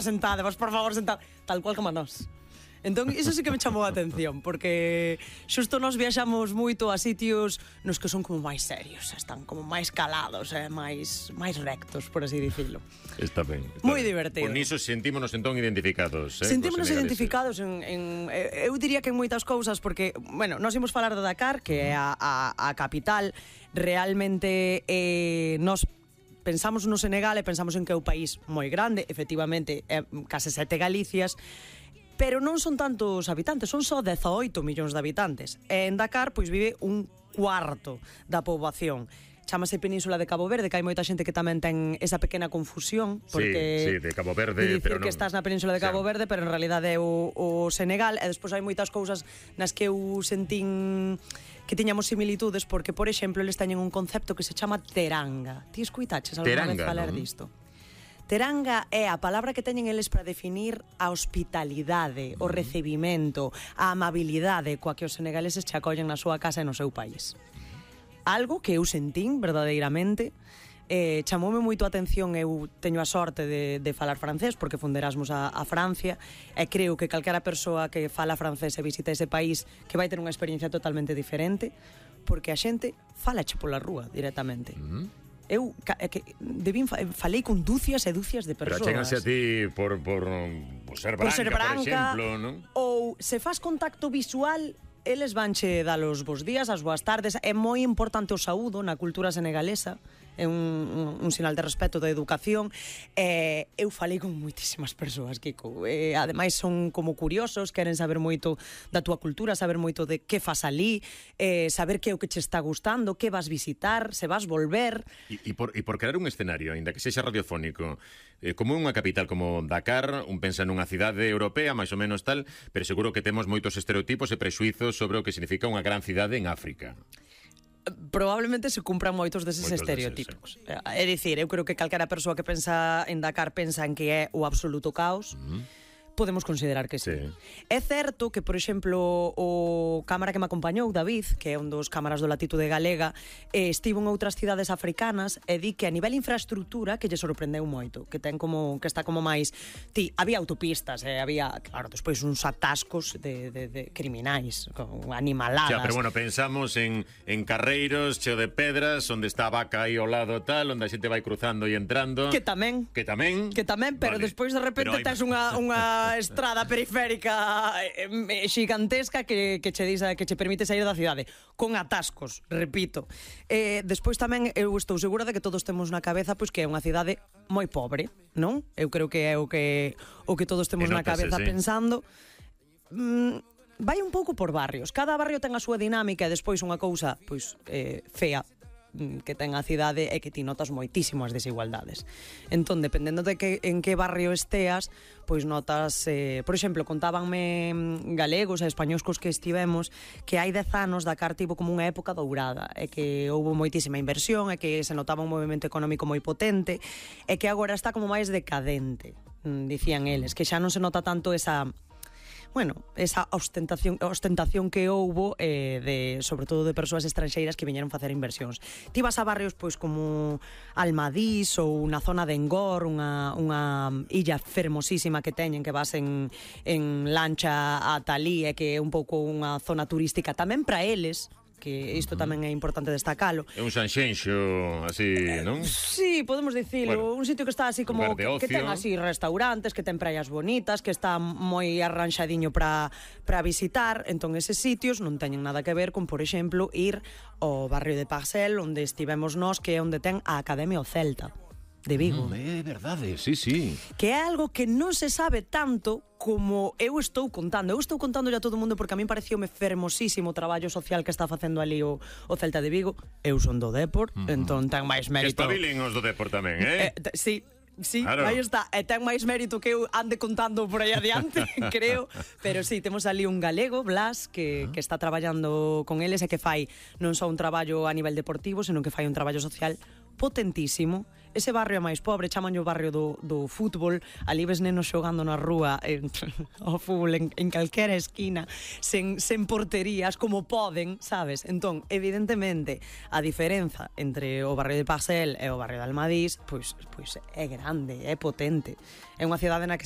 sentada, vos por favor sentada, tal cual como nós. Entón, iso sí que me chamou a atención, porque xusto nós viaxamos moito a sitios nos que son como máis serios, están como máis calados, máis rectos, por así dicilo. Está ben. Moi divertido. Por niso sentímonos entón identificados. Sentímonos identificados eu diría que en moitas cousas, porque, bueno, nós imos falar de Dakar, que é a capital, realmente nós pensamos no Senegal e pensamos en que é un país moi grande, efectivamente, case 7 Galicias, pero non son tantos habitantes, son só 18 millóns de habitantes. E en Dakar, pois, vive un cuarto da poboación. Chámase Península de Cabo Verde, que hai moita xente que tamén ten esa pequena confusión, porque sí, de Cabo Verde, pero non, que estás na Península de Cabo Verde, pero en realidade é o Senegal, e despois hai moitas cousas nas que eu sentín que tiñamos similitudes, porque, por exemplo, eles teñen un concepto que se chama teranga. Ti escuitaches alguna vez falar disto? Teranga é a palabra que teñen eles para definir a hospitalidade, o recibimento, a amabilidade coa que os senegaleses che acollen na súa casa e no seu país. Algo que eu sentín verdadeiramente, chamoume moito a atención. Eu teño a sorte de falar francés, porque fun de Erasmus a Francia, e creo que calquera persoa que fala francés e visita ese país que vai ter unha experiencia totalmente diferente, porque a xente falache pola rúa directamente. Eu falei con dúcias e dúcias de persoas. Pero chéganse a ti por ser branca, por exemplo, non? Ou se faz contacto visual, eles vanche dar os bons días, as boas tardes. É moi importante o saúdo na cultura senegalesa, é un sinal de respeto, de educación. Eu falei con moitísimas persoas, Kiko. Ademais son como curiosos, queren saber moito da túa cultura, saber moito de que fas ali, saber que é o que che está gustando, que vas visitar, se vas volver. E por crear un escenario, aínda que sexa radiofónico, como unha capital como Dakar, un pensa nunha cidade europea, máis ou menos tal, pero seguro que temos moitos estereotipos e prexuizos sobre o que significa unha gran cidade en África. Probablemente se cumpran moitos deses estereotipos. É dicir, eu creo que calquera persoa que pensa en Dakar pensa en que é o absoluto caos. Podemos considerar que sí. É certo que, por exemplo, o cámara que me acompañou, David, que é un dos cámaras do Latitude Galega, estivo en outras cidades africanas e di que a nivel infraestructura que lle sorprendeu moito, que está como máis... había autopistas, había, claro, despois uns atascos de criminais, con animaladas. Pero bueno, pensamos en carreiros cheo de pedras, onde está a vaca aí ao lado tal, onde a xente vai cruzando e entrando. Que tamén, pero despois de repente tes unha estrada periférica xigantesca que che permite sair da cidade con atascos, repito. Despois tamén eu estou segura de que todos temos na cabeza pois que é unha cidade moi pobre, non? Eu creo que é o que todos temos na cabeza pensando. Vai un pouco por barrios. Cada barrio ten a súa dinámica e despois unha cousa pois fea que ten a cidade é que ti notas moitísimas desigualdades. Entón, dependendo de en que barrio esteas, pois notas, por exemplo, contábanme galegos e españois cos que estivemos que hai 10 anos Dakar tivo como unha época dourada, e que houve moitísima inversión, e que se notaba un movimento económico moi potente, e que agora está como máis decadente, dicían eles, que xa non se nota tanto esa ostentación que houbo sobre todo de persoas estranxeiras que viñeron facer inversións. Ti vas a barrios pois como Almadís ou na zona de Engor, unha illa fermosísima que teñen, que vas en lancha a Talí, e que é un pouco unha zona turística tamén para eles, que isto tamén é importante destacalo. É un Sanxenxo así, non? Sí, podemos dicilo, un sitio que está así como que ten así restaurantes, que ten praias bonitas, que está moi arranxadiño para visitar. Entón eses sitios non teñen nada que ver con, por exemplo, ir ao barrio de Parcel, onde estivemos nós, que é onde ten a Academia o Celta de Vigo. É verdade, sí. Que é algo que non se sabe tanto como eu estou contando. Eu estou contando a todo o mundo porque a min pareceume fermosísimo o traballo social que está facendo ali o Celta de Vigo. Eu son do Depor, entón ten máis mérito. Que espabilen os do Depor tamén, Sí, claro. Aí está. E ten máis mérito que eu ande contando por aí adiante, creo. Pero sí, temos ali un galego, Blas, que está traballando con eles e que fai non só un traballo a nivel deportivo, senón que fai un traballo social potentísimo. Ese barrio máis pobre, chamanlle o barrio do fútbol, ali ves nenos xogando na rúa ao fútbol en calquera esquina, sen porterías, como poden, sabes? Entón, evidentemente, a diferenza entre o barrio de Parcel e o barrio de Almadís, pois é grande, é potente. É unha cidade na que se